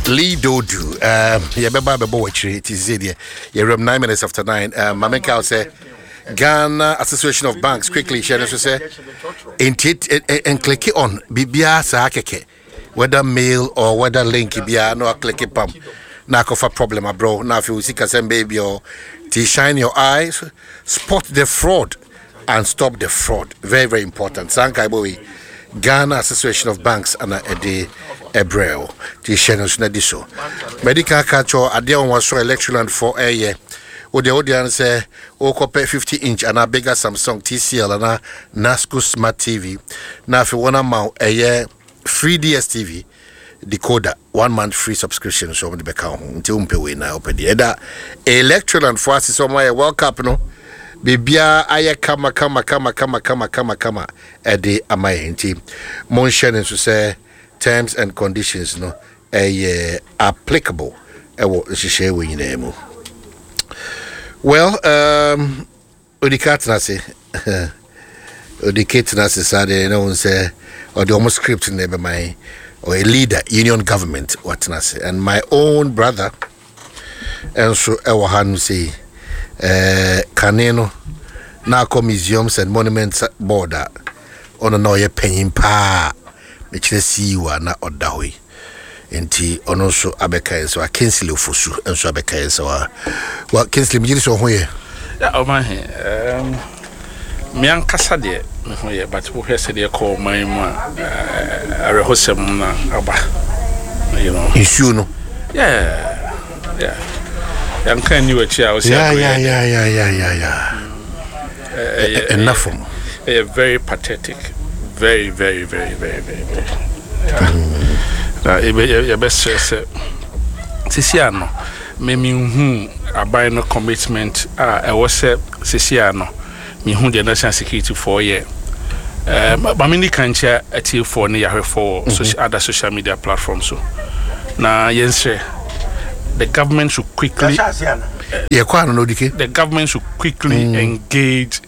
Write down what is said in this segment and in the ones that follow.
Lee Dodu, yɛbɛba bɛbɔ w'akyire ti sɛ deɛ yɛwuram 9:09. Ma menka wo sɛ Ghana Association of Banks quickly hyɛ no so sɛ nclick on biribiara saa kɛkɛ, whether mail or whether link biara na waclick pam na akɔfa problem abrɛ wo na afei wo sikasɛm bɛyɛ bi ɔ. Nti shine your eyes, spot the fraud and stop the fraud. Very, very important. Saa nkaebɔ wei, Ghana Association of Banks ana ɛde ɛbrɛ wo, nti hyɛ no so na di so. Medical ka kyerɛ adeɛ a wɔn so Electroland fo ɛyɛ wodeɛ wodeɛ no sɛ wokɔpɛ 50 inch anaa bigger Samsung, TCL anaa Nasco Smart TV na afei wɔn ama wo ɛyɛ free DStv decoder, one month free subscription so wɔn de bɛka wo ho. Nti wompɛ wei na wopɛ deɛ ɛda Electroland fo ase sɛ wɔn ayɛ World Cup no biribiara ayɛ kama kama kama kama kama kama kama ɛde ama yɛn. Nti monhyɛ no nso sɛ terms and conditions no ɛyɛ applicable ɛwɔ nhyehyɛe wɔ nyinaa mu. Well, Odika tena ase, Odike tena ase saa deɛ na wɔn sɛ ɔde wɔn script na ɛbɛma yɛn. Ɔyɛ leader, union government, watena ase, and my own brother ɛnso ɛwɔ ha no sei. Kane no na akɔ Museums and Monuments Board a ɔno na ɔyɛ panyin paa, mekyerɛ CEO a na ɔda hɔ yi, nti ɔno nso abɛka yɛn sɛ wa Kingsley Ofosu nso abɛka yɛn sɛ wa Kingsley, megye di sɛ ɔho yɛ. Ya, ɔma he me ankasa deɛ me ho yɛ, but wohwɛ sɛdeɛ ɛkɔ ɔman mu a, awerɛhosɛm na aba. Nsuo no. Yeah, yɛnka nni w'akyi a wosi ya ya ya ya ya ya ya ɛnna fam. Ɛyɛ very pathetic, very, very, very, very, very, very. Na yɛbɛsrɛ sɛ sisi ano memenhu aban no commitment a ɛwɔ sɛ sisi ano mehu deɛ national security foɔ yɛ. Maame ni kan kyɛ atiefoɔ ne yɛahwɛfoɔ wɔ other social media platforms so na yɛnsrɛ the government should quickly yɛkɔ ano na Odike. The government should quickly engage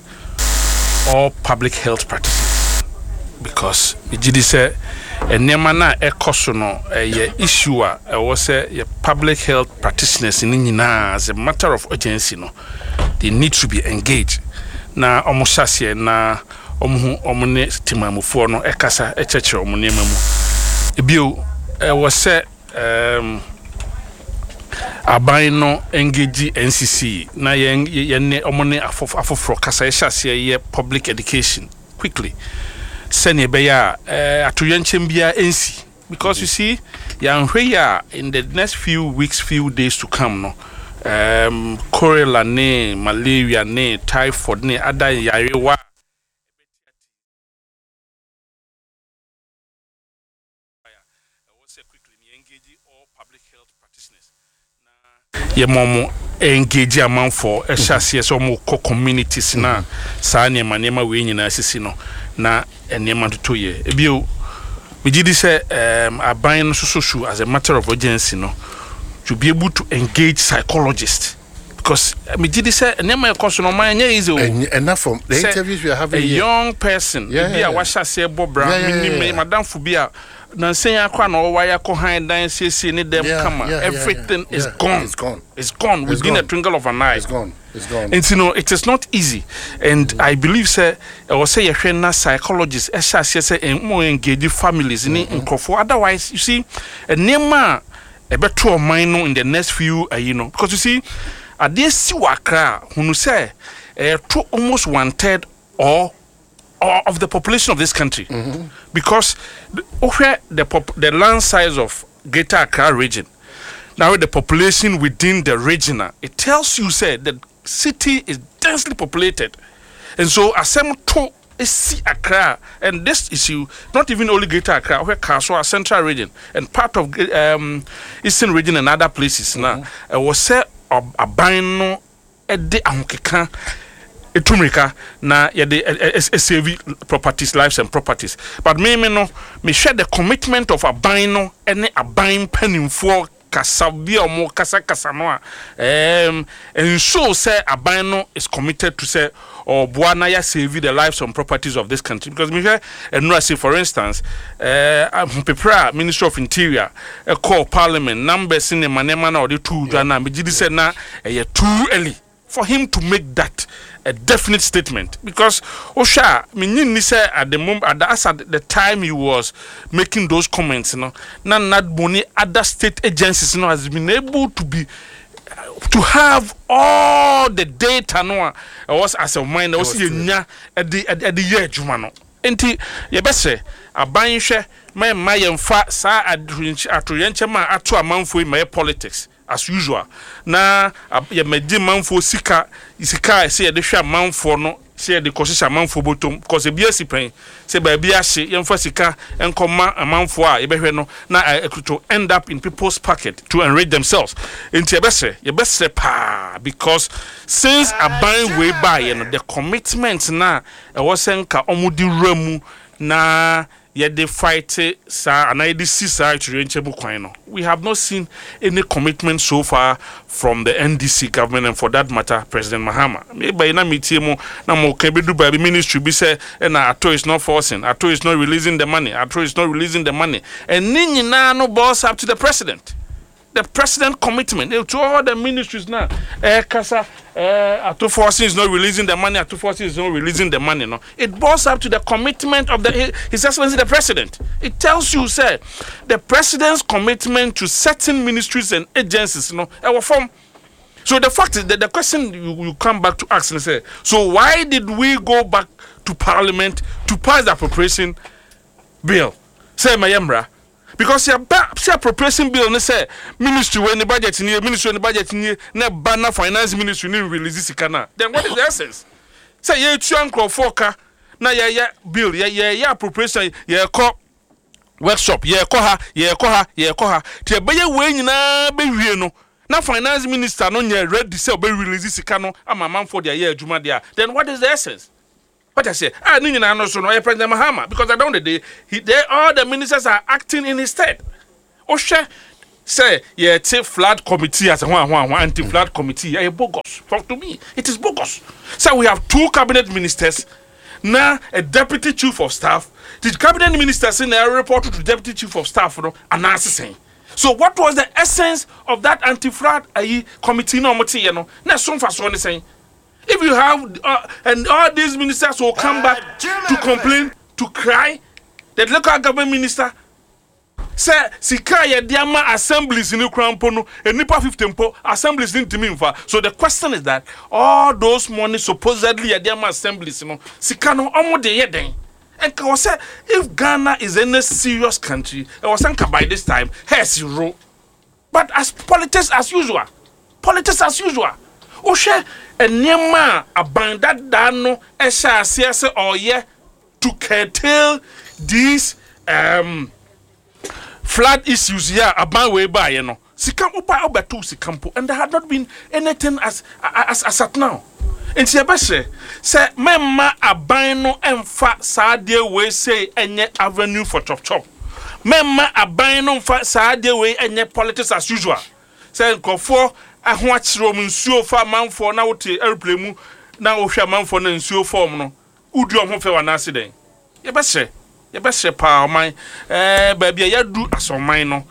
all public health practices because megye di sɛ nneɛma no a ɛkɔ so no ɛyɛ issue a ɛwɔ sɛ yɛ public health practitioners no nyinaa, as a matter of urgency no, they need to be engaged na ɔmo hyɛ aseɛ na ɔmo ho ɔmo ne temamufoɔ no ɛkasa ɛkyerɛkyerɛ ɔmo nneɛma mu. Ebio, ɛwɔ sɛ aban no engage NCC na yɛn yɛn ɔmo ne afoforɔ kasa, yɛhyɛ aseɛ yɛ public education quickly sɛnea ɛbɛyɛ a atoyɛnkyɛm biara nsi, because you see, yɛanhwɛ yi a, in the next few weeks, few days to come no, cholera ne malaria ne typhoid ne ada yarewa ɛwɔ sɛ quickly ne engage all public health practitioners na yɛma ɔmo engage amanfoɔ, ɛhyɛ aseɛ sɛ ɔmo kɔ communities na saa nneɛma wei nyinaa sisi no na nneɛma toto yɛ. Ebio, megye di sɛ aban no soso should, as a matter of urgency no, to be able to engage psychologists because megye di sɛ nneɛma ɛkɔ so no, ɔman ɛnyɛ easy o. Ɛna from the interviews we are having a here. Young person ebi a wahyɛ aseɛ bɔ bra, menim madamfo bi a nansɛn akɔ a na ɔwɔ akɔ han dan siesie ne dɛm kama, everything is gone. It's gone. It's gone within a gone. twinkle of an eye. It's gone. It's gone. Nti no, it is not easy and I believe sɛ ɛwɔ sɛ yɛhwɛ na psychologist ɛhyɛ aseɛ sɛ mo engage families ne nkurɔfoɔ. Otherwise, you see, nneɛma a ɛbɛto ɔman no in the next few ayi no, because you see, adeɛ si wɔ Akra a hunu sɛ ɛyɛto almost one third or of the population of this country, because wohwɛ the land size of Greater Accra Region now with the population within the region a, it tells you sɛ the city is densely populated, and so asɛm to esi Accra, and this issue, not even only Greater Accra, wohwɛ Kasoa, Central Region and part of Eastern Region and other places, na ɛwɔ sɛ aban no ɛde ahokeka etu mirika na yɛde save properties, lives and properties. But me no, mehwɛ the commitment of aban no ɛne aban mpanimfoɔ. Kasa bi a ɔmo kasakasa no a ɛnshow sɛ aban no is committed to sɛ ɔboa na yɛ save the lives and properties of this country, because mehwɛ nnura se, for instance, ahopepere a Ministry of Interior ɛkɔɔ Parliament, numbers ne nneɛma na ɔde to dwa na megye di sɛ na ɛyɛ too early for him to make that a definite statement, because wohwɛ a, menyi nni sɛ at the moment, at the time he was making those comments no, na NADMO ne other state agencies no has been able to have all the data no a ɛwɔ as a ɔman na ɛwɔ sɛ yɛnya ɛde yɛ adwuma no. Nti yɛbɛsrɛ aban, hwɛ ma mma yɛmfa saa atoyɛnkyɛm a ato amanfoɔ yi ma yɛ politics as usual, na yɛmɛgye manfoɔ sika a ɛsɛ yɛde hwɛ amanfoɔ no sɛ yɛde kɔhyehyɛ amanfoɔ bɔtɔm, because ebi asi pɛn sɛ baabi ahye, yɛmfa sika nkɔma amanfoɔ a yɛbɛhwɛ no na to end up in people's pocket to enrich themselves. Nti yɛbɛsrɛ paa, because since aban wei baayɛ no, the commitment na ɛwɔ sɛ nka ɔmo de wura mu na yɛde fight saa anaa yɛde si saa atoyerɛnkyɛm kwan no, we have not seen any commitment so far from the NDC government and, for that matter, President Mahama. Meba yi na metie mu na mo ka bɛdu baabi, ministry bi sɛ ɛna Ato is not forcing, Ato is not releasing the money, Ato is not releasing the money, and ne nyinaa no boils up to the president commitment to all the ministries now. Kasa, Ato Forson is not releasing the money, Ato Forson is not releasing the money no, it boils up to the commitment of the His Excellency the President. It tells you sɛ the president's commitment to certain ministries and agencies no ɛwɔ fam. So the fact is that the question you come back to ask and say, so why did we go back to Parliament to pass the appropriation bill sɛ ɛmɛyɛ mmara? Because yɛba sɛ appropriation bill ne sɛ ministry wei ne budget nie, ministry ne budget nie, na ɛba na Finance Ministry ne release sika na, then what is the essence sɛ yɛtua nkurɔfoɔ ka na yɛyɛ bill, yɛyɛ appropriation, yɛkɔ workshop, yɛkɔ ha, yɛkɔ ha, yɛkɔ ha, tí ɛbɛyɛ wei nyinaa bɛwie no na Finance Minister no nyɛ ready sɛ ɔbɛ release sika no ama amanfoɔ de ayɛ adwuma deɛ a, then what is the essence? What I say, ah, ne nyinaa no so no ɔyɛ President Mahama, because at the end of the day, all the ministers are acting in his stead. Wohwɛ sɛ yɛte flood committee as ho anti flood committee, ɛyɛ bogus. For to me, it is bogus sɛ we have two cabinet ministers na a deputy chief of staff. The cabinet ministers na report to deputy chief of staff no anaasɛ sɛn? So what was the essence of that anti-flood ayi committee na ɔmo te yɛ no na ɛso nfasoɔ ne sɛn, if you have and all these ministers will come back to complain, to cry? The local government minister sɛ sika a yɛde ama assemblies ni kura mpo no, nipa 50 mpo assemblies ni ntumi nfa. So the question is that all those money supposedly yɛde ama assemblies no, sika no ɔmo de yɛ den? Nka wɔ sɛ if Ghana is any serious country, ɛwɔ sɛ nka by this time hairs roll, but as politics as usual, politics as usual. Wohwɛ nneɛma a aban dadaa no ɛhyɛ aseɛ sɛ ɔyɛ to curtail these flood issues yi a aban wei baayɛ no, sika woba wobɛto sika mpo, and there had not been anything as at now. Nti yɛbɛhyɛ sɛ mɛmma aban no ɛmfa saa adeɛ wei sei ɛnyɛ avenue for chop chop, mɛmma aban no mfa saa adeɛ wei ɛnyɛ politics as usual, sɛ nkurɔfoɔ aho akyerɛ wɔn, nsuo fa amanfoɔ na wote aeroplane mu na wohwɛ amanfoɔ na nsuo fɔm no, wodi wɔn ho fɛ wɔ anaase dɛn? Yɛbɛhyɛ paa, ɔman baabi a yɛadu asɔman no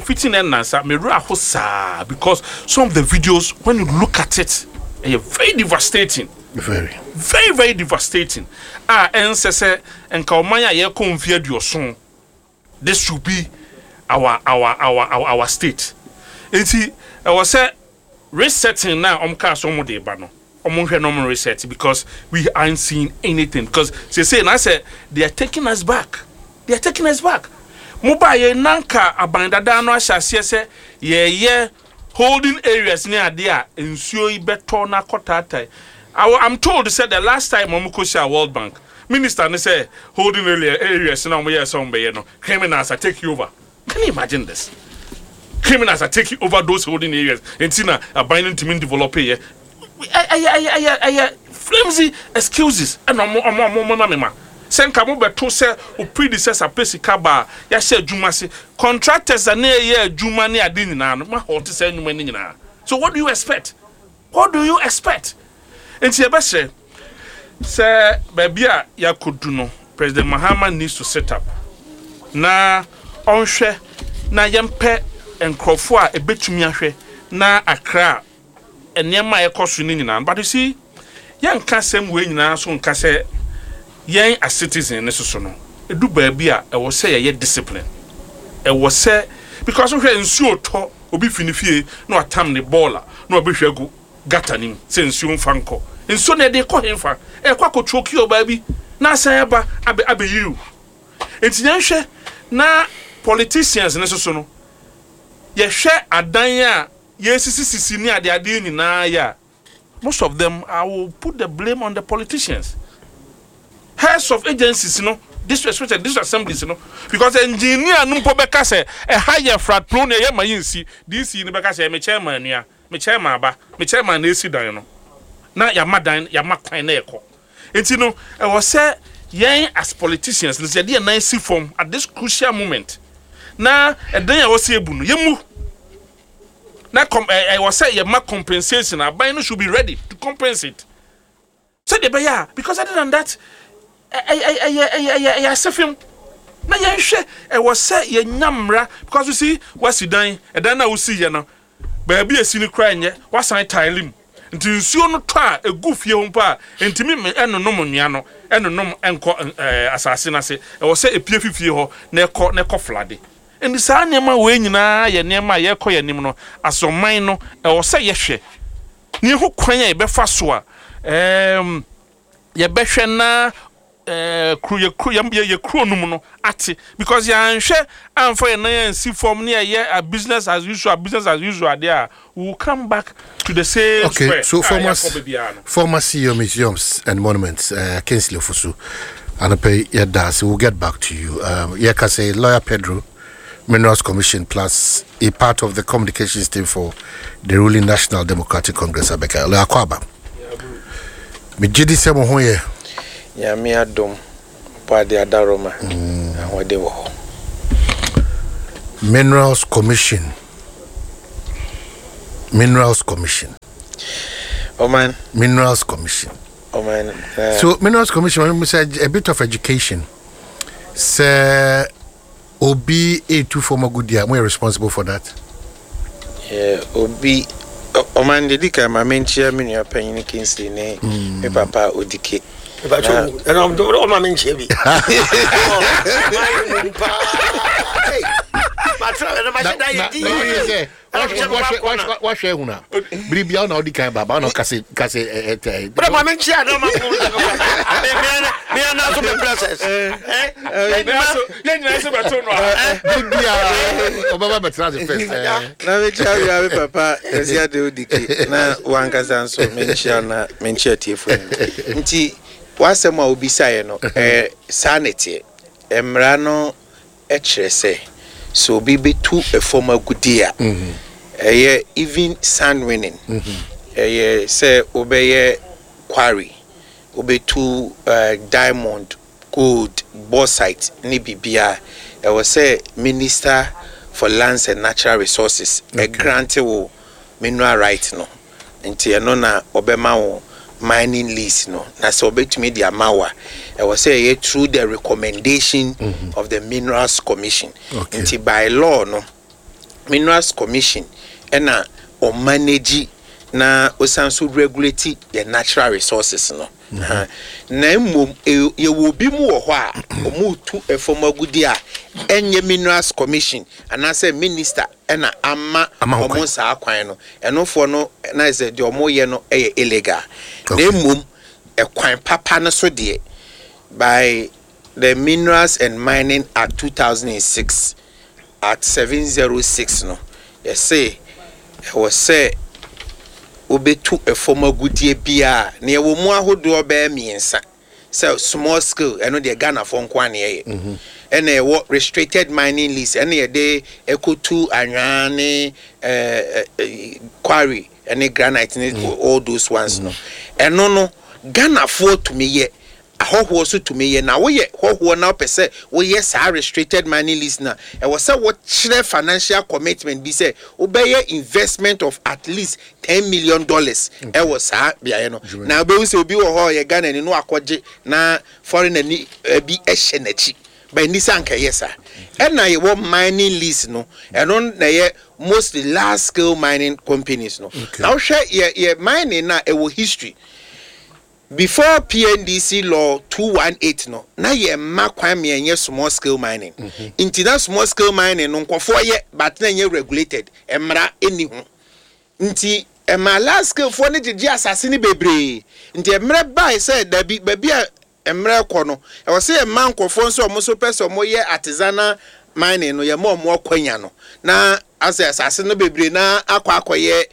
fiti na ɛnansa mewura aho saa, because some of the videos, when you look at it, ɛyɛ very devastating. Very. Very, very devastating a ɛnsɛ sɛ nka ɔman a yɛkɔ mfe 70, this should be our state. Nti ɛwɔ sɛ resetting na ɔmo kaa so ɔmo de ba no, ɔmo nhwɛ na ɔmo reset, because we aren't seeing anything, because sese na sɛ they are taking us back, they are taking us back. Mo ba yɛ nanka aban dada no ahyɛ aseɛ sɛ yɛyɛ holding areas ne adeɛ a nsuo yi bɛtɔ na akɔ. I'm told sɛ the last time ɔmo kɔ hyia World Bank minister ne sɛ holding areas na ɔmo yɛ sɛ ɔmo bɛyɛ no, criminals are taking over. Can you imagine this? Criminals are taking over those holding areas, nti na aban no ntumi develop yɛ. Ɛyɛ flimsy excuses ɛna ɔmo ma mi ma. Sɛ nka mo bɛto sɛ wo predecessor pɛ sika ba a yɛahyɛ adwuma ase, contractors a na ɛyɛ adwuma ne ade nyinaa no, mo ahɔɔte saa nnwuma no nyinaa. So what do you expect? What do you expect? Nti yɛbɛsrɛ sɛ baabi a yɛakɔdu no, President Mahama needs to sit up na ɔnhwɛ na yɛmpɛ nkurɔfoɔ a ɛbɛtumi ahwɛ na Accra nneɛma a ɛkɔ so no nyinaa. But you see, yɛnka asɛm wei nyinaa so nka sɛ yɛn as citizen ne soso no, ɛdu baabi a ɛwɔ sɛ yɛyɛ discipline. Ɛwɔ sɛ, because wohwɛ nsuo tɔ, obi fi ne fie na watam ne bɔɔla na wabɛhwɛ agu gutter no mu sɛ nsuo mfa nkɔ. Nsuo no ɛde kɔ hemfa? Ɛkɔ akɔtwoki wɔ baabi na asan aba abɛ abɛyiriw. Nti yɛnhwɛ na politicians ne soso no, yɛhwɛ adan a yɛsisisisi ne adeadeɛ nyinaa yɛ a, most of them, I will put the blame on the politicians, heads of agencies no, district, especially district assemblies no, because engineer no mpo bɛka sɛ ɛha yɛ flat plane, ɛyɛ ma yɛnsi. DC no bɛka sɛ me chairman nua, me chairman ba, me chairman na esi dan no na yɛama dan, yɛama kwan na ɛkɔ. Nti no ɛwɔ sɛ yɛn as politicians no sɛ yɛde yɛn nan si fam at this crucial moment na ɛdan a ɛwɔ sɛ ebu no yɛmu na com ɛ ɛwɔ sɛ yɛma compensation. Aban no should be ready to compensate sɛdeɛ ɛbɛyɛ a, because other than that ɛyɛ ɛyɛ ɛyɛ ɛyɛ ɛyɛ asɛfem. Na yɛnhwɛ, ɛwɔ sɛ yɛnya mmara, because you see, wasi dan, ɛdan no a wosi yɛ no, baabi a esi no koraa nyɛ, wasan tile mu, nti nsuo no tɔ a egu fie hɔ mpo a ntumi ɛnonom nnua no, ɛnonom ɛnkɔ asase no ase. Ɛwɔ sɛ epie fi fie hɔ na ɛkɔ flood. Nti saa nneɛma wei nyinaa yɛ nneɛma a yɛrekɔ yɛn anim no, asɔman no ɛwɔ sɛ yɛhwɛ ne yɛho kwan a yɛbɛfa so a yɛbɛhwɛ na kuro yɛ kuro yɛ yɛ kuro no mu no ate, because yɛanhwɛ amfa yɛn nan ansi fam ne yɛyɛ a business as usual, business as usual adeɛ a, we will come back to the same square. So a former yɛakɔ baabiara no. Former CEO, Museums and Monuments, Kingsley Ofosu. Anɔpa yɛda ase, we'll get back to you. Yɛka sɛ Lawyer Pedro, Minerals Commission plus a part of the communications team for the ruling National Democratic Congress abɛka. Lawyer Kwaba. Megye di sɛ mo ho yɛ. Nyame adom, bɔ ade adaroma, ahoɔden wɔ hɔ. Minerals Commission. Minerals Commission. Ɔman. Minerals Commission. Ɔman. So Minerals Commission, a bit of education. Sɛ obi etu fam agudi a, mo yɛ responsible for that? Yeah, obi ɔman de di kan ma menkyia me nua panyin Kingsley ne me papa Odike. Ɛna ɔma me nkyia bi. Na wahwɛ ehun a biribia na ɔdi kan ba na ɔkase kase ɛ ɛ Bẹ́ẹ̀ ma mi nkyia na ɔma mi mi ana so mi princess. Yɛn nyinaa sɛ bɛto no a. Biribia ɔbɛba bɛtena ase first. Na menkyia wia me papa Kwasi Ade Odike na wankasa nso menkyia na menkyia tiefo no. Nti w'asɛm a wobisaeɛ no, saa ne teɛ. Mmara no kyerɛ sɛ obi bɛtu fam agudie a, ɛyɛ even sand winning, ɛyɛ sɛ wobɛyɛ quarry, wobɛtu diamond, gold, bauxite ne biribiara, ɛwɔ sɛ Minister for Lands and Natural Resources ɛgrant wo mineral right no. Nti ɛno na ɔbɛma wo mining lease no. Na sɛ ɔbɛtumi de ama wo a, ɛwɔ sɛ ɛyɛ through the recommendation of the Minerals Commission. Nti by law no, Minerals Commission ɛna ɔmanage na ɔsan so regulate the natural resources no. Na mmom yɛwɔ obi mu wɔ hɔ a ɔmo tu ɛfam agudi a ɛnyɛ Minerals Commission anaasɛ minister ɛna ama Ama ho ɔmo kwan. Saa kwan no, ɛnofoɔ no na sɛ deɛ ɔmo yɛ no ɛyɛ illegal. Na mmom ɛkwan papa no so deɛ, by the Minerals and Mining Act 2006, Act 706 no, yɛse ɛwɔ sɛ wobɛtu ɛfam agudie biara na yɛwɔ mu ahodoɔ bɛyɛ mmiɛnsa, sɛ small scale, ɛno deɛ Ghanafoɔ nko a na ɛyɛ, ɛna ɛwɔ restricted mining lease, ɛna yɛde ɛkɔtu anwea ne quarry ɛne granite ne all those ones no. Ɛno no Ghanafoɔ tumi yɛ. Ahɔhoɔ so tumi yɛ. Na woyɛ hɔhoɔ na wopɛ sɛ woyɛ saa restricted mining lease no a, ɛwɔ sɛ wokyerɛ financial commitment bi sɛ wobɛyɛ investment of at least $10 million ɛwɔ saa beaeɛ no. Na wobɛhu sɛ obi wɔ hɔ a ɔyɛ Ghanani na wakɔgye na foreigner ni bi hyɛ n'akyi. But ɛnni sɛ anka ɛyɛ saa. Ɛna yɛwɔ mining lease no, ɛno na ɛyɛ mostly large scale mining companies no. Na wohwɛ yɛ mining no a, ɛwɔ history. Before PNDC law 218 no, na yɛ mma kwan ma yɛnyɛ small scale mining. Nti na small scale mining no nkɔfoɔ yɛ, but na ɛnyɛ regulated, mmara ɛnni ho. Nti ɛma large scale foɔ no gyegye asase no bebree. Nti mmerɛ bae sɛ dabi, baabi a mmerɛ kɔ no, ɛwɔ sɛ yɛma nkɔfoɔ nso a wɔn nso pɛ sɛ wɔyɛ artisanal mining no, yɛma wɔn akwanya no. Na asɛ asase no bebree na akɔ akɔyɛ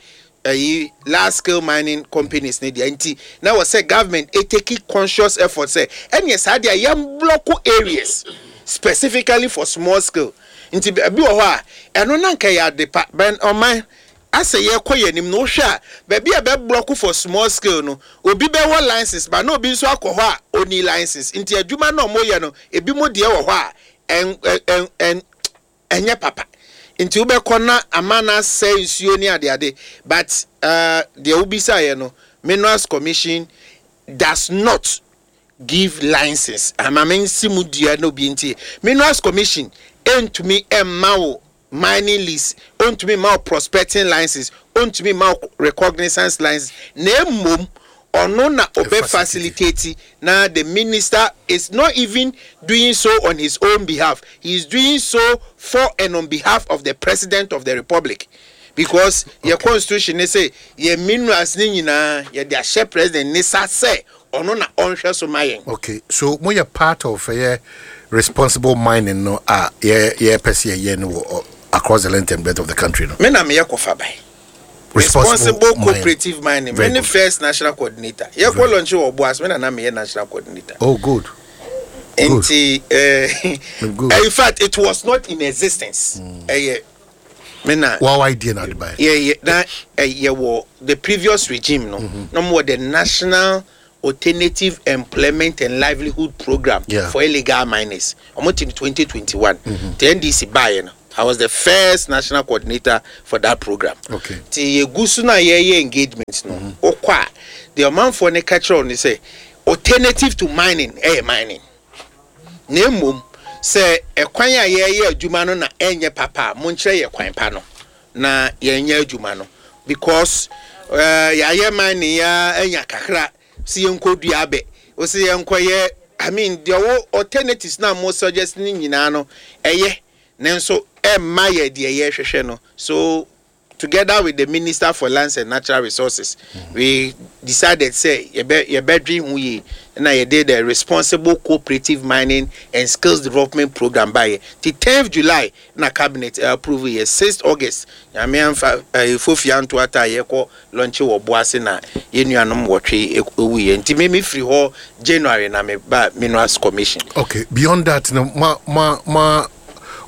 ɛyi large scale mining companies ne deɛ. Nti na wɔ sɛ government etake conscious effort sɛ ɛneɛ saa deɛ yɛn block areas specifically for small scale. Nti ebi wɔ hɔ a ɛno na nka yɛ ade pa bɛn ɔman asɛ yɛkɔ yɛn anim no. Wohwɛ a, baabi a bɛ block for small scale no, obi bɛwɔ license ba na obi nso akɔ hɔ a oni license. Nti adwuma na ɔmo yɛ no, ebi mo deɛ wɔ hɔ a ɛn ɛn ɛn ɛnyɛ papa. Nti wobɛkɔ na ama na asɛ nsuo ne adeade. But deɛ wobisaeɛ no, Minerals Commission does not give license. Ama me nsi mu dua na obi nti, Minerals Commission ntumi mma wo mining lease, ntumi mma wo prospecting license, ntumi mma wo recognizance license. Na mmom ɔno na ɔbɛ facilitate. Na the minister is not even doing so on his own behalf. He is doing so for and on behalf of the President of the Republic, because yɛ constitution ne sɛ yɛ minerals ne nyinaa yɛde ahyɛ President ne sa sɛ ɔno na ɔnhwɛ so ma yɛn. Okay, so moyɛ part of ɛyɛ responsible mining no a yɛpɛ sɛ yɛyɛ no wɔ across the length and breadth of the country no? Me na meyɛ kɔfa ban responsible cooperative mining. Me ne first national coordinator. Yɛkɔ launch wɔ Obuasi, me na na meyɛ national coordinator. Oh, good. Nti in fact, it was not in existence. Ɛyɛ me na. Wow, idea na de ba. Yɛ na yɛwɔ the previous regime no, na mo wɔ the National Alternative Employment and Livelihood Program for illegal miners. Ɔmo ti 2021 the NDC baayɛ no, I was the first national coordinator for that program. Ti yɛgu so na yɛyɛ engagement no, wokɔ a, deɛ ɔmanfoɔ no ka kyerɛ wo ne sɛ alternative to mining ɛyɛ mining, na mmom sɛ ɛkwan a yɛyɛ adwuma no na ɛnyɛ papa a, monkyerɛ yɛ kwan pa no na yɛnyɛ adwuma no, because yɛayɛ mining ya anya kakra si yɛnkɔ dua abɛ wosi yɛnkɔyɛ, I mean, deɛ wɔ alternatives na mo suggest ne nyinaa no ɛyɛ, nanso ɛmma yɛ deɛ yɛhwehwɛ no. So together with the Minister for Lands and Natural Resources, we decided sɛ yɛbɛdwe ho yie na yɛde the Responsible Cooperative Mining and Skills Development Program baayɛ. Ti 10th July na cabinet approve yɛ. 6th August, Nyame amfa fofia nto ata a yɛkɔ launch wɔ Boase na yɛn nuanom wɔtwe ewuyɛ. Nti me firi hɔ January na me ba Minerals Commission. Okay, beyond that no, ma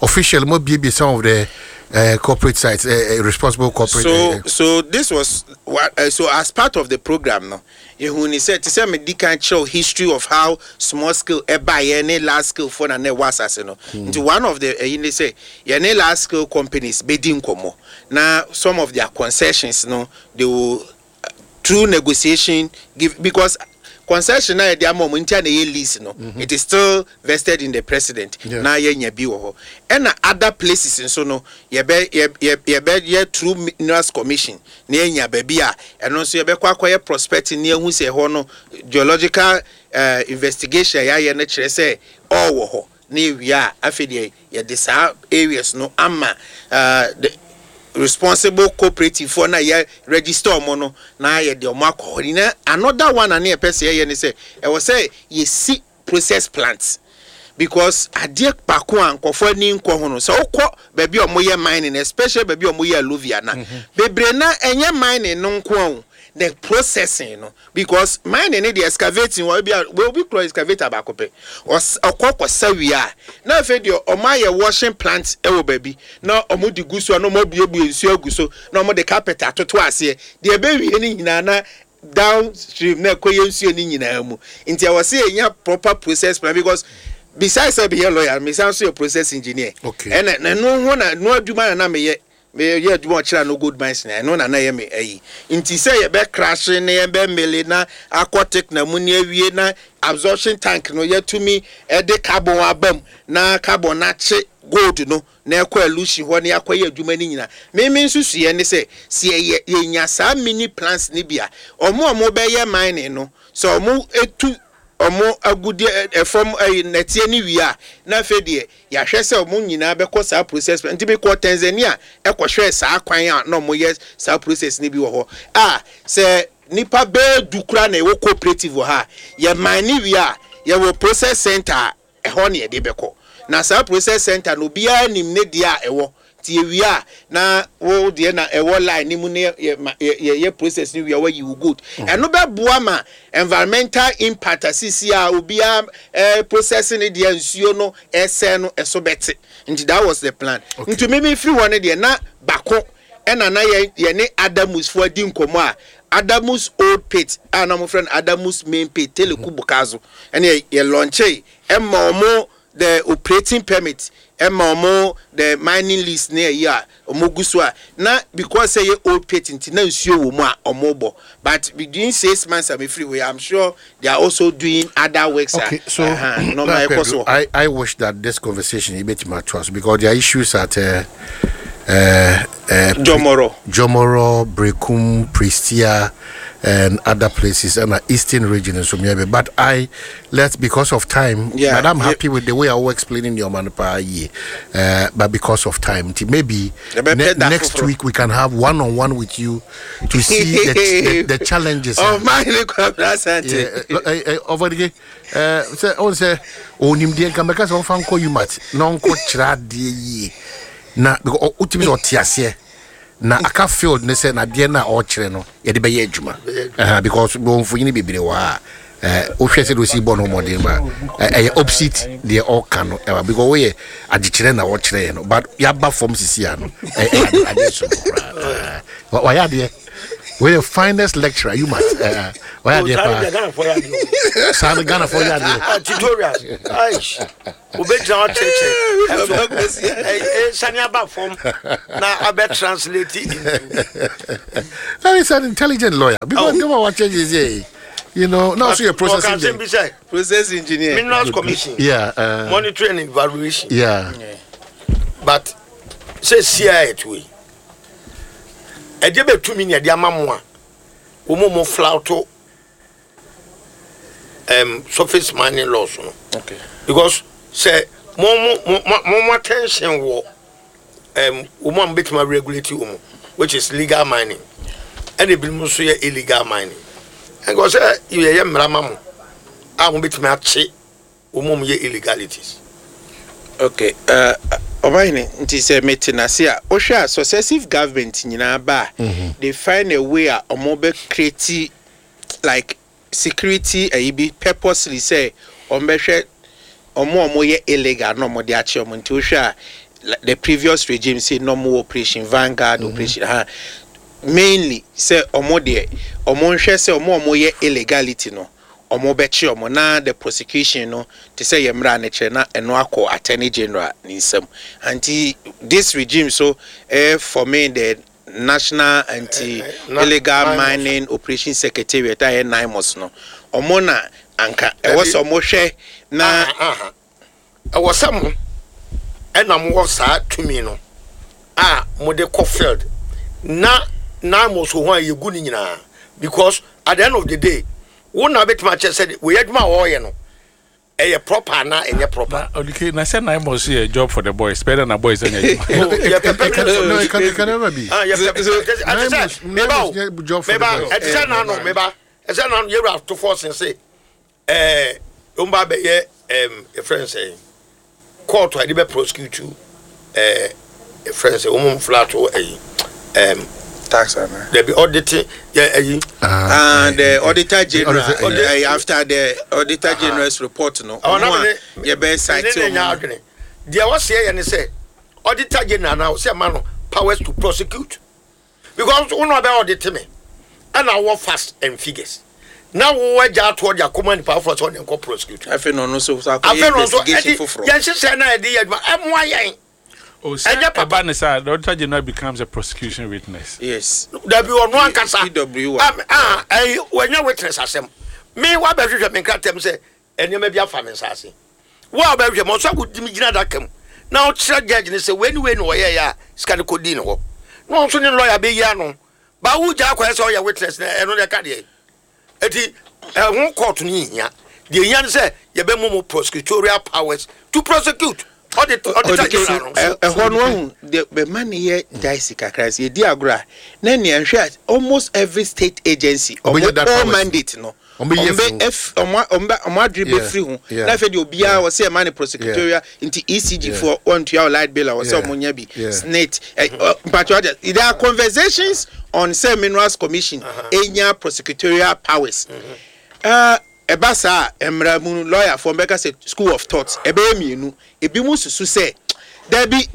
officially mo biebie some of the corporate sites, responsible corporate. So so this was what, so as part of the program no, ehu ni sɛ te sɛ me di kan kyerɛw history of how small scale ɛba yɛ ne large scale fo na na ɛwɔ asase no. Nti one of the ɛyi ne sɛ yɛne large scale companies bɛdi nkɔmɔ na some of their concessions no, they will through negotiation give, because concession na yɛde ama ɔmo nti a na ɛyɛ lease no, it is still vested in the President. Na yɛnya bi wɔ hɔ, ɛna other places nso no, yɛbɛ yɛ yɛ yɛbɛyɛ through Minerals Commission na yɛnya baabi a ɛno nso yɛbɛkɔ akɔyɛ prospecting na yɛhu sɛ ɛhɔ no geological investigation a yɛayɛ no kyerɛ sɛ ɔwɔ hɔ, na yɛwie a, afei deɛ yɛde saa areas no ama the responsible cooperative foɔ na yɛ register ɔmo no na yɛde ɔmo akɔ hɔ. Na another one a ne yɛpɛ sɛ yɛyɛ ne sɛ ɛwɔ sɛ yɛsi process plants, because adeɛ baako a nkɔfoɔ ani nkɔ ho no, sɛ wokɔ baabi a wɔyɛ mining, especially baabi a wɔyɛ alluvial na bebree na ɛnyɛ mining no nko a o, the processing no, because mining ne deɛ, excavating wɔ ebi a obi kura excavator baako pɛ, ɔkɔ kɔsa wie a, na afei deɛ ɔmo ayɛ washing plant ɛwɔ baabi na ɔmo de gu so a, na ɔmo abuebue nsuo agu so na ɔmo de carpet atoto aseɛ deɛ ɛbɛwie ne nyinaa na Downstream na ɛkɔ yɛ nsuo no nyinaa mu. Nti ɛwɔ sɛ yɛnya proper process plan because besides sɛ meyɛ lawyer, mesan nso yɛ process engineer. Okay. Ɛna na ɛno ho na ɛno adwuma na na meyɛ. Meyɛ adwuma ɔkyerɛ no gold mines na ɛno na na ɛyɛ me ayi. Nti sɛ yɛbɛ crash na yɛbɛ mill na akɔ thickener mu na awie na absorption tank no yɛatumi de carbon aba mu na carbon no akye gold no na ɛkɔ elution hɔ na yɛakɔyɛ adwuma no nyinaa. Me me nsusuiɛ ne sɛ, sɛ yɛyɛ yɛnya saa mini plants no bi a, wɔn a wɔbɛyɛ mining no, sɛ wɔtu wɔn agudeɛ ɛ fam ɛyi nnɛteɛ no wie a, na afei deɛ yɛahwɛ sɛ wɔn nyinaa bɛkɔ saa process plant. Nti mekɔɔ Tanzania kɔhwɛɛ saa kwan a na wɔyɛ saa process no bi wɔ hɔ a, sɛ nnipa bɛyɛ du koraa na ɛwɔ cooperative wɔ ha a, yɛ mine wie a, yɛwɔ process centre a ɛhɔ na yɛde bɛkɔ. Na saa process center no obiara nim ne deɛ a ɛwɔ. Nti yɛwie a na wo deɛ na ɛwɔ line no mu na yɛyɛ process no wie a wayi wo gold. Ɛno bɛboa ma environmental impact a seesei a obiara process ne deɛ nsuo no ɛsɛe no ɛso bɛte. Nti that was the plan. Nti me mefiri hɔ no deɛ na bako ɛna na yɛne Adamus foɔ adi nkɔmmɔ a Adamus old pit a na wɔfrɛ no Adamus main pit Teleku Bukazo ɛne yɛ launchee ɛma wɔn the operating permit ɛma wɔn the mining lease ne ɛyi a wɔn gu so a na because sɛ yɛ old pit nti na nsuo wɔ mu a wɔn bɔ but between 6 months a mefiri hɔ yi, I'm sure they are also doing other works a Okay, so nneɛma ɛkɔ so wɔ hɔ. I wish that this conversation a bit to us because there are issues at Jomoro. Jomoro, Brekum, Prestea, and other places, and the eastern region and so maybe. But I let because of time. But I'm happy with the way I was explaining your man but because of time, maybe next week we can have one on one with you to see the challenges. Oh my, Asante. Yeah, over the sɛ ɔn sɛ onimdeɛ nka mɛka sɛ ɔmfa nkɔ umat na ɔnkɔ kyerɛ adeɛ yie na because wotumi sɛ ɔte aseɛ na aka field ne sɛ nadeɛ no a ɔrekyerɛ no yɛde bɛyɛ adwuma. Because wɔmfonyini bebree wɔ ha a wohwɛ sɛ de osi bɔ no mmɔden ba ɛyɛ opposite deɛ ɔka no ɛwɔ because woyɛ agyekyerɛ na ɔkyerɛ yɛ no, but yɛaba fam sisi a no ɛyɛ adeɛ so koraa. Wayɛ adeɛ, woyɛ finest lecturer you must wayɛ adeɛ paa saa no Ghana fo yɛ adeɛ. Tutorials, aish, wobɛgyina hɔ kyerɛkyerɛ ɛso sane aba fam na abɛ translate into That is an intelligent lawyer because oh, what changes here, now so you're processing ɔka bi sɛ process engineer. Minerals Commission monitoring and evaluation, but sɛ sia ɛto yi ɛdeɛ bɛtumi ne ɛde ama mo a wɔn mo flout surface mining laws no because sɛ mo attention wɔ wɔn a mo bɛtumi regulate wɔn, which is legal mining, ɛna ebinom nso yɛ illegal mining, ɛnka sɛ yɛyɛ mmara ma mo a mo bɛtumi akye wɔn a mo yɛ illegalities. Okay, ɔbahene, nti sɛ mete n'ase a, wohwɛ a successive government nyinaa ba a, they find a way a ɔmo bɛ create like security ɛyi bi purposely sɛ ɔmo bɛhwɛ ɔmo a ɔmo yɛ illegal na ɔmo de akyɛ ɔmo. Nti wohwɛ a the previous regime say na ɔmo wɔ Operation Vanguard, operation ha mainly sɛ ɔmo deɛ ɔmo nhwɛ sɛ ɔmo a ɔmo yɛ illegality no ɔmo bɛkye ɔmo, na the prosecution no te sɛ yɛ mmara ne kyerɛ na ɛno akɔ Attorney General ne nsam. Nti this regime so for me the National Anti Illegal Mining Operation Secretariat a ɛyɛ NAIMOS no, ɔmo na anka ɛwɔ sɛ ɔmo hwɛ na Ɛwɔ sɛ mo ɛna mowɔ saa tumi no a mode kɔ field na NAIMOS wɔ ho a yɛgu no nyinaa, because at the end of the day wo na bɛtumi akyerɛ sɛ wɔyɛ adwuma a wɔreyɛ no ɛyɛ proper na ɛnyɛ proper. Na odike na sɛ NAIMOS yɛ job for the boys bɛyɛ na boys ɛnyɛ adwuma. Oh, yɛ pɛ permanent. No, it can never be. Ah, yɛ pɛ ɛte sɛ meba o job for the meba boys. Ɛte sɛ nano meba ɛsɛ nano yɛwura ato force sɛ wɔn ba bɛyɛ yɛfrɛ no sɛ court a yɛde bɛ prosecute yɛfrɛ no sɛ wɔn flout ɛyi tax ana. Dabi, audit yɛ ɛyi. Ah, the Auditor General, Auditor- after the Auditor General's report no, ɔno ɔmo a yɛbɛ cite ne ne nya ɔmo. Adwene deɛ wɔseɛ yɛ ne sɛ Auditor General na ɔsɛ ma no powers to prosecute because wɔn na ɔbɛ audit me. Ɛna wowɔ facts and figures na wo agya atoɔ de akɔma nipa foforɔ sɛ ɔne nkɔ prosecute. Afei na ɔno nso so akɔyɛ investigation foforɔ. Yɛn nhyehyɛ na yɛde yɛ adwuma ɛmoa yɛn. Oh, sɛ ɛba ne saa, the auditor general becomes a prosecution witness. Yes. Dabi ɔno ankasa. PW1. Ah, ɛyi wɔnyɛ witness asɛm. Me wabɛhwehwɛ me nkrataa mu sɛ nneɛma bi afa me nsa ase. Wo a wobɛhwehwɛ me ɔsɔ akɔdi me gyina adaka mu na ɔkyerɛ judge no sɛ wei ne wei na ɔyɛeɛ a sika no kɔdii ne hɔ. Na ɔno nso ne lawyer bɛyi ano. Ba wo gya akɔyɛ sɛ ɔyɛ witness na ɛno deɛ ɛka deɛ. Eti ɛho court no nhia. Deɛ ehia ne sɛ yɛbɛma mo prosecutorial powers to prosecute audit auditor general no. Ɛhɔ no wahu deɛ bɛma no yɛ dicey kakra sɛ yɛdi agorɔ a na nea nhwɛ a almost every state agency ɔmo core mandate no ɔmo bɛ ɛf ɔmo ɔmo bɛ ɔmo adwene bɛ firi ho na afei deɛ obiara wɔ sɛ ɛma no prosecutorial nti ECG foɔ wɔntua o light bill a wɔ sɛ ɔmo nya bi SSNIT ɛ ɔ mpatwa ɔde there are conversations on sɛ minerals commission enya prosecutorial powers ɛɛ ɛba saa a mmara mu no lawyer foɔ bɛka sɛ school of thought ɛbɛyɛ mmienu ebi mo susu sɛ dabi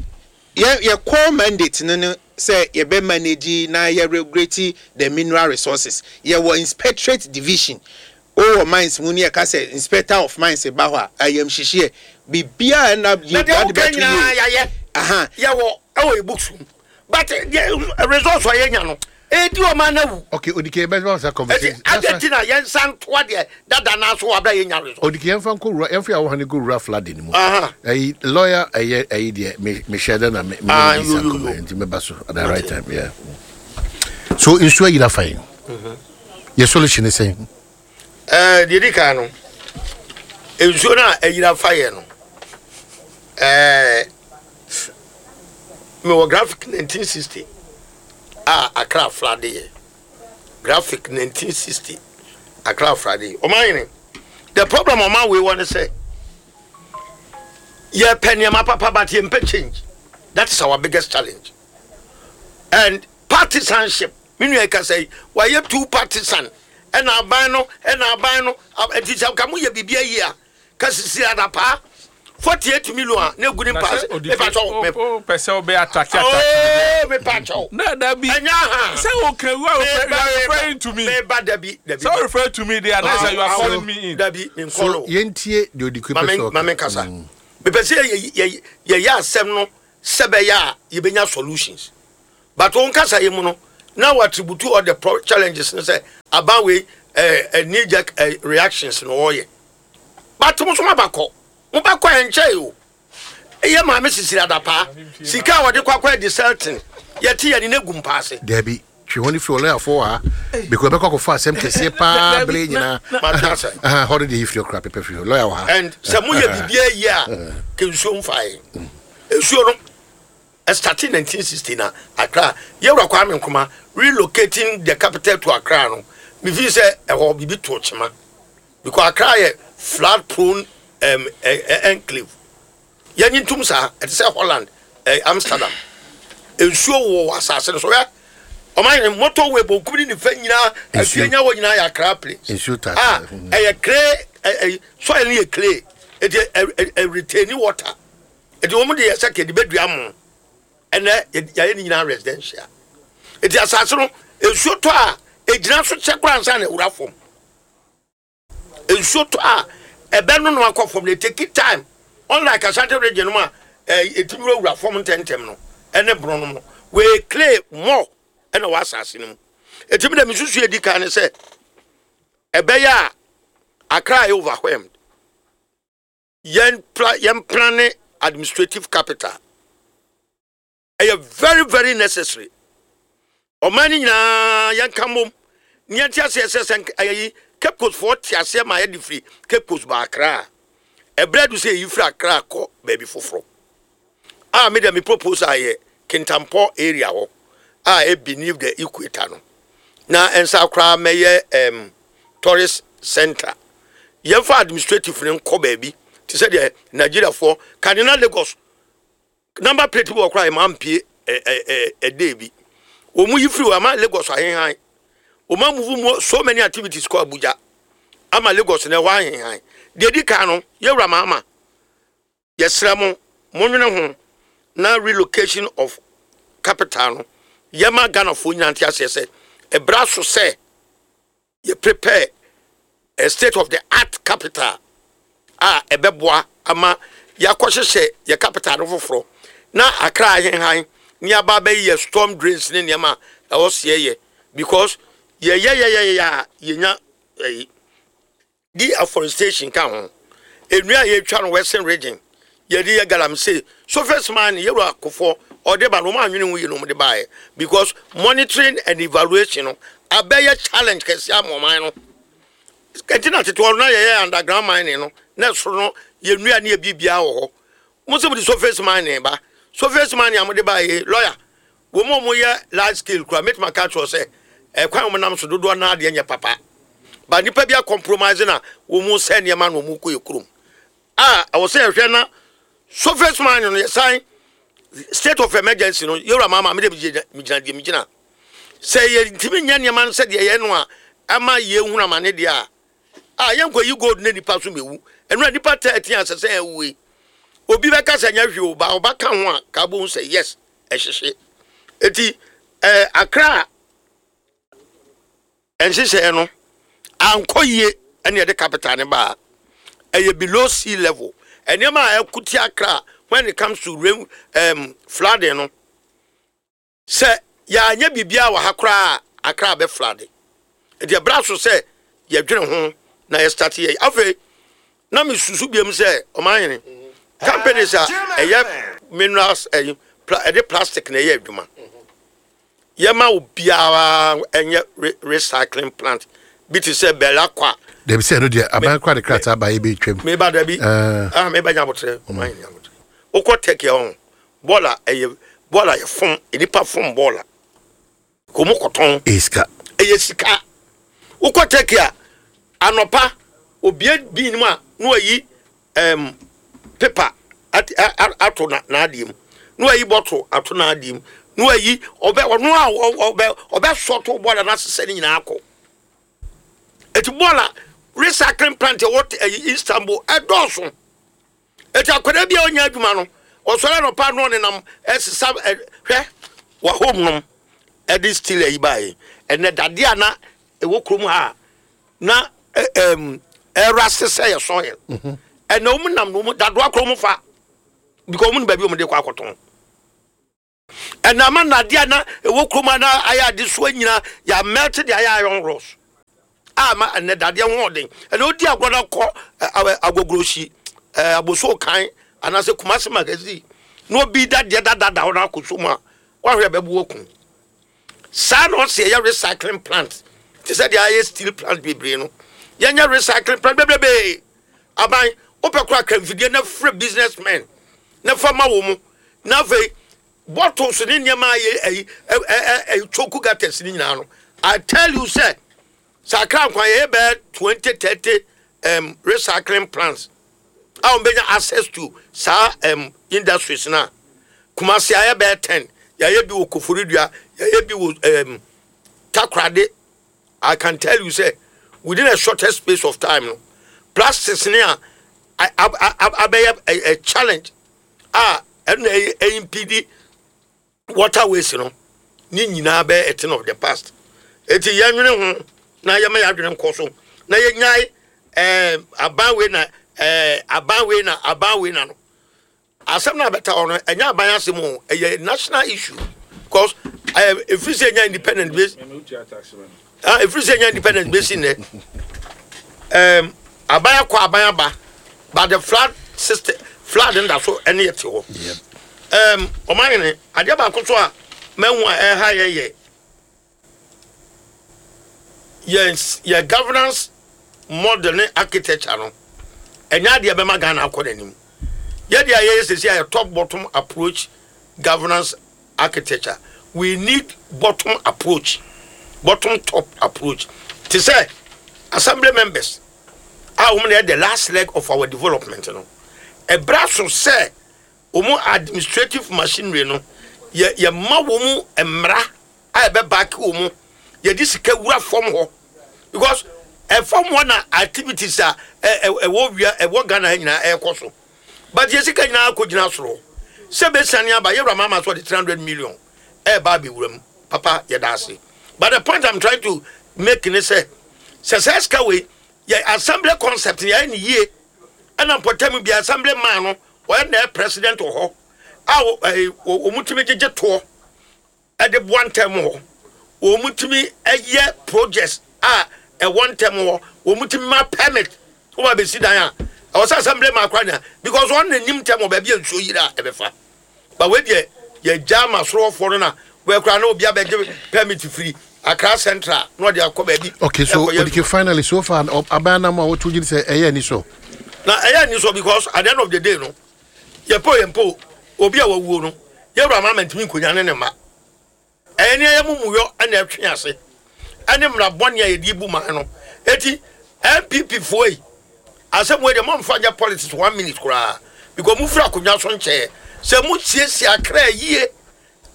yɛ yɛ core mandate no no sɛ yɛbɛ manage na yɛ regulate the mineral resources. Yɛwɔ inspectorate division wowɔ mines mu ne yɛka sɛ inspector of mines ba hɔ a ayamhyehyeɛ biribiara ɛna yɛ ade bɛto yie. Yɛayɛ Aha. Yɛwɔ ɛwɔ yɛ books mu but deɛ results a yɛnya no ɛdi ɔman no awu. Okay, odike bɛ bɛ sa conversation. Ɛti adi ti na yɛn nsa ntoa deɛ dada naa so wɔ abira yɛn nya result. Odike yɛn fa nkɔ wura yɛn fa yɛn ahohane kɔ wura flooding mu. Ɛyi lawyer ɛyɛ ɛyi deɛ me me hyɛ dɛ na me me Ah, ne yo, sa yo, yo. nkɔmɔ nti me ba so at the right time yeah. So nsuo ayira fa yɛn. Yɛ solution ne sɛn? Ɛɛ deɛ di kan no nsuo no a ayira fa yɛn no ɛɛ mewɔ graphic 1960 a Accra flood yɛ graphic 1960 Accra flood yɛ ɔman yɛn the problem ɔman wei wɔ ne sɛ yɛpɛ nneɛma papa but yɛmpɛ change. That is our biggest challenge and partisanship. Me nua yi kasa yi, wayɛ too partisan. Ɛna aban no, ɛna aban no, ɛnti sɛ nka moyɛ biribi ayi a, ka sisi adapaa 48 million a na egu ne Na mpa sɛ ase. odi Mepa kyɛw, me o pɛ sɛ ɔbɛ atake atake. Oh, mepa kyɛw. Na dabi. Ɛnyɛ aha. Sɛ o kan you are Meba, referring to me. Meba dabi, dabi. Sɛ o refer to me there, na sɛ you are calling me in. Dabi, me So nkɔlo. yɛntie deɛ odike pɛ sɛ ɔka. Ma me nkasa. Mepɛ sɛ yɛ yɛ yɛyɛ asɛm no sɛ bɛyɛ a yɛbɛnya solutions. But wo nkasa yi mu no, na wo attribute all the pro challenges no sɛ aban wei eh, eh, knee jerk eh, reactions na ɔyɛ. But mo nso moaba kɔ. Moba kɔ ɛnkyɛe o. Ɛyɛ maame Sisiri Adapaa. Sika a wɔde kɔ akɔ adi Selton. Yɛte yɛne no agu mpa ase. Dabi, twe wɔn firi ɔlɔyafoɔ wɔ ha because ɛbɛkɔ akɔfa asɛm kɛseɛ paa bere nyinaa. Mate ase. Hɔ no deɛ yi firi ɔkora pɛpɛ firi hɔ. Lɔya wɔ ha. And sɛ moyɛ biribiara yie a, ka nsuo mfa yɛn. Nsuo no, Ɛstartee 1960 na Accra Yɛwura Kwame Nkrumah relocating the capital to Accra no, me feel sɛ ɛhɔ biribi too kyema because Accra yɛ flood prone um, enclave. Yɛnye ntom saa, ɛte sɛ Holland, eh, Amsterdam. Nsuo wɔ asase no so. Hwɛ, ɔman yɛn motorway bonkum ne nifa nyinaa, afie nya hɔ nyinaa yɛ Accra place. Nsuo taa. Ah, ɛyɛ clay, ɛyɛ soil no yɛ clay, eti ɛ retain water. Eti wɔn de yɛ sɛ kɛde bɛdua mo. Ɛnɛ yɛayɛ ne nyinaa residential. Eti asase no nsuo tɔ a egyina so kyɛ koraa ansa na ewura fam. Nsuo tɔ a ɛbɛ no no akɔ fam na etake time. Unlike Ashanti region no mu a ɛɛ etimi wurawura fam ntɛntɛm no ɛne borɔ no no. Wei clay more ɛna wɔ asase no mu. Eti mi dɛ mi susu edi kan ne sɛ ɛbɛyɛ a Accra ayɛ overwhelmed. Yɛn pra yɛn plane administrative capital ɛyɛ very very necessary. Ɔman no nyinaa yɛnka mmom ne yɛnte aseɛ sɛ sɛ ɛyɛ yi Cape Coast foɔ te aseɛ ma yɛde firi Cape Coast ba Accra a ɛberɛ adu sɛ yɛyi firi Accra kɔ baabi foforɔ a me deɛ me propose a yɛ Kintampɔ area hɔ a ɛ beneath the equator no na ɛnsa koraa mɛyɛ um, tourist center. Yɛmfa administrative no nkɔ baabi te sɛ deɛ Nigeriafoɔ kane na Lagos number plate bi wɔ koraa ɛma mpie ɛdee bi. Wɔn yi firi hɔ ama Lagos ahenhan. Wɔn amuvu mu so many activities kɔ Abuja ama Lagos na ɛhɔ ahenhan. Deɛ di kan no yɛwura maama Yɛsrɛ mo, monwene ho na relocation of capital no yɛma Ghanafoɔ nyinaa nte aseɛ sɛ ɛberɛ aso sɛ. Yɛ prepare a state of the art capital a ɛbɛboa ama yɛakɔhyehyɛ yɛ capital no foforɔ na Accra ahenhan ne aba abɛyɛ yɛ storm drains ne nneɛma a ɛwɔ seɛ yɛ because yɛyɛyɛyɛyɛ a yɛnya ɛyi deforestation ka ho nnua a yɛtwa no western region yɛde yɛ galamsey surface mine yɛwura kofoɔ ɔde ba no wɔn anwene ho yie na wɔn de baeɛ because monitoring and evaluation no abɛyɛ challenge kɛseɛ ama ɔman no ɛnti na tete hɔ no na yɛyɛ underground mining no na ɛsoro no yɛ nnua ne yɛ biribiara wɔ hɔ mo sɛ mo de surface mining ba surface mining a mo de ba yɛ lawyer wɔn a wɔyɛ large scale kura mɛtuma aka kyerɛ sɛ ɛkwan wɔn nam so dodoɔ naa deɛ nyɛ papa ba nipa bi a compromise na wɔn sɛ nneɛma na wɔn kɔ yɛ kurom a ɛwɔ sɛ yɛhwɛ na surface mining no yɛsan state of emergency no yɛwura maama mi de mi gyina deɛ mi gyina sɛ yɛntumi nyɛ nneɛma no sɛdeɛ yɛn no a ama yɛhunu amane deɛ a a yɛnkɔ yi gold ne nipa so mewu ɛno a nipa 13 asɛ sɛ ɛwu yi obi bɛka sɛ nyɛ hwee o ba ɔba ka ho a ka bohu sɛ yes ɛhyehye eti ɛɛ Accra nhyehyɛeɛ no ankɔ yie ɛne yɛde capital ne baa ɛyɛ below sea level nneɛma a ɛkuti Accra when it comes to rain flooding no sɛ yɛanyɛ biribiara wɔ ha koraa Accra bɛ flood nti ɛbra so sɛ yɛdwene ho na yɛ start yɛ afei na mesusu biom sɛ ɔmanhene companies a ɛyɛ minerals ɛyi ɛde plastic na ɛyɛ adwuma yɛma obiara ɛnyɛ recycling plant bi te sɛ Belakwa. Dabi sɛ ɛno deɛ aban kora de krataa ba yɛ bɛtwam. Meba dabi ah meba nya abotrɛ ɔmanhene abotrɛ wokɔ Turkey hɔ bɔɔla ɛyɛ bɔɔla yɛ fom nipa fom bɔɔla kò mu kɔtɔn. Ɛyɛ sika. Ɛyɛ sika wokɔ Turkey a anɔpa obie bin mu a na wayi paper ato n'adeɛ mu na wayi bottle ato n'adeɛ mu na wayi ɔbɛ ɔno a ɔbɛ ɔbɛ sɔto bɔɔla n'asesɛ ne nyinaa akɔ eti bɔɔla recycling plant ɛwɔ ɛyi Istanbul ɛdɔɔso eti akwadaa bi a ɔnya adwuma no ɔsɔre anɔpa no ɔnenam ɛsesa ɛ hwɛ wɔ home nom ɛde steel ayi baa yi ɛnɛ dadeɛ a na ɛwɔ kurom ha na ɛra sesɛ yɛ soil ɛnɛ wɔn nam no wɔn dadoa koro wɔn fa because wɔn ni baabi wɔn de kɔ akɔtɔn ɛnɛ ama nnadeɛ a na ɛwɔ kurom ha na ayɛ adesoa nyinaa yɛ melt de ayɛ iron rods a ma ɛnɛ dadeɛ ho ɔden ɛnɛ odi agorɔ na kɔ ɛ agogorosi ɛ aboso kan anaasɛ Kumasi magazine na obi dadeɛ dadada hɔ na akɔ so mu a wahwɛ bɛbu okun saa na ɔsi ɛyɛ recycling plant te sɛ deɛ ayɛ steel plant bebree no yɛnyɛ recycling plant bebrebe aban wopɛ kora kramfidie na frɛ businessmen na fa ma wɔ mu na afei bottles ne nneɛma ayɛ ɛyi ɛ ɛ ɛ choke gutters ne nyinaa no I tell you sɛ sɛ Accra nkwan yɛyɛ bɛyɛ 20 30 recycling plants a wɔn bɛnya access to saa industries na Kumasi ayɛ bɛyɛ 10 yɛayɛ bi wɔ Koforidua yɛayɛ bi wɔ Takoradi. I can tell you say within a shorter space of time no plastics ne a abɛyɛ a challenge a ɛna ɛyɛ impede waterways no ne nyinaa bɛyɛ a thing of the past eti yɛnwene ho na yɛma yɛadwene nkɔ so na yɛnyae aban wei na aban wei na aban wei na no asɛm na abɛta hɔ no ɛnyɛ aban asɛm o ɛyɛ national issue because ɛfiri sɛ ɛnya independent base ah ɛfiri sɛ ɛnya independent base nnɛ aban akɔ aban aba but the flood system flood nda so ɛne yɛ te hɔ ɔman adeɛ baako so a mɛhu a ɛha yɛ yɛ yɛn governance model ne architecture no ɛnyɛ adeɛ bɛma Ghana akɔ n'anim yɛde a yɛyɛ sɛsi a yɛ top bottom approach governance architecture. We need bottom approach, bottom top approach te sɛ assembly members a wɔn na yɛ the last leg of our development no ɛbra so sɛ wɔn administrative machinery no yɛ yɛ ma wɔn mmara a ɛbɛ back wɔn yɛde sika wura fam hɔ because ɛfam hɔ na activities a ɛ ɛ ɛwɔ wia ɛwɔ Ghana ha nyinaa ɛrekɔ so but yɛ sika nyinaa akɔ gyina soro sɛ bɛsiane aba yɛwura maama so ɔde 300 million ɛɛba abɛwura mu papa yɛda ase. But the point I'm trying to make ne sɛ Sɛ saa sika wei yɛ assembly concept yɛayɛ ne yie, ɛna mpɔtam bi assembly man no wɔyɛ na ɛyɛ president wɔ hɔ a wɔn tumi gyegye toɔ ɛde boa ntɛm hɔ, wɔn tumi ɛyɛ projects a ɛwɔ ntɛm hɔ, wɔn tumi ma permit wɔn abɛsi dan a ɛwɔ sɛ assembly man akora nya, because wɔn na nim ntɛm wɔ baabi a nsuo yiri a ɛbɛfa. Ba wei deɛ, yɛgya ama soroɔfoɔ no na wɔakura na obi abɛgye permit firi Accra Central na ɔde akɔ baabi. Okay, so Odike, finally, so far aban nam a wɔto gye sɛ ɛyɛ ani so. Na ɛyɛ ani so because at the end of the day no, yɛpɛ yɛn obi a wawuo no, yɛwura ma ntumi nkonya ne ne mma. Ɛyɛ ne ɛyɛ mumuyɔ ɛna ɛtwe ase ɛne mmara bɔne a yɛde bu man no. Eti NPP foɔ yi, asɛm wei deɛ, momfa nyɛ politics one minute koraa, because mofiri akonnwa so nkyɛɛ sɛ mosiesie Akra yie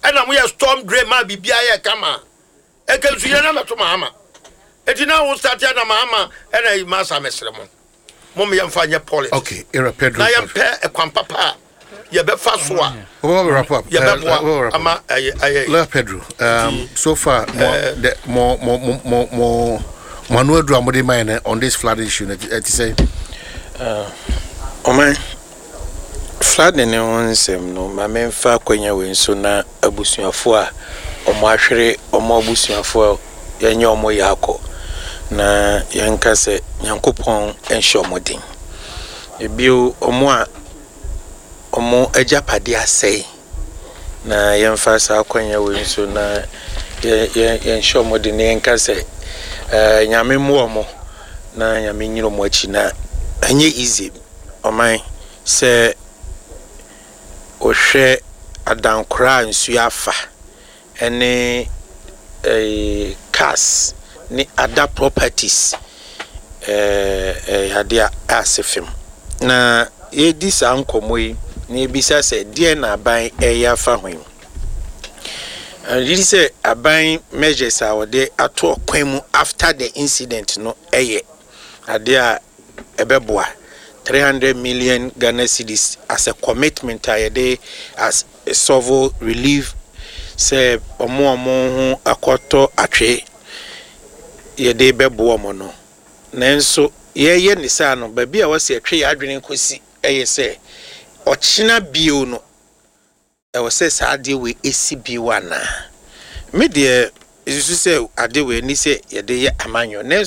ɛna moyɛ storm drain ma biribiara yɛ kama, ɛka nsu yɛ na mɛto Mahama. Eti na wo start na Mahama ɛna yi masa. Mesrɛ mo, mo yɛmfa nyɛ politics. Okay, Era Pedro. Na yɛmpɛ ɛkwan papa a yɛbɛfa so a We'll wrap up. Yɛbɛboa ama ɛyɛ ɛyɛ. Lawyer Pedro, so far, more, the, more, more, more, more, more, more, no aduru a mode ma yɛn on this flood issue no, ɛte sɛ? Ɔman, flooding ne ho nsɛm no, ma memfa akwannya wei nso na abusuafoɔ a ɔmo ahwere ɔmo abusuafoɔ a yɛnyɛ ɔmo yɛ akɔ na yɛnka sɛ Nyankopɔn nhyɛ ɔmo den. Ebio, ɔmo a ɔmo agyapadeɛ asɛe, na yɛmfa saa akwannya wei nso na yɛnhyɛ ɔmo den na yɛnka sɛ Nyame mmoa ɔmo na Nyame nyina ɔmo akyi. Na ɛnyɛ easy, ɔman, sɛ wohwɛ adankora a nsuo afa ɛne cars ne other properties, ɛyɛ adeɛ a ase fam. Na yɛdi saa nkɔmmɔ yi na yɛbisa sɛ deɛ na aban ɛyɛ afa ho yi, ɛyɛ sɛ aban measures a wɔde ato ɔkwan mu after the incident no ɛyɛ adeɛ a ɛbɛboa. 300 million Ghana cedis as a commitment a yɛde as solve relief sɛ ɔmo a ɔmo ho akɔtɔ atwe, yɛde bɛboa ɔmo no. Nanso yɛyɛ ne saa no, baabi a wɔsi ɛtwe yɛ adwene kɔsi ɛyɛ sɛ ɔkyena bio no, ɛwɔ sɛ saa adeɛ wei esi bio anaa? Me deɛ, esusu sɛ adeɛ wei ni sɛ yɛde yɛ amanyɔ, nanso.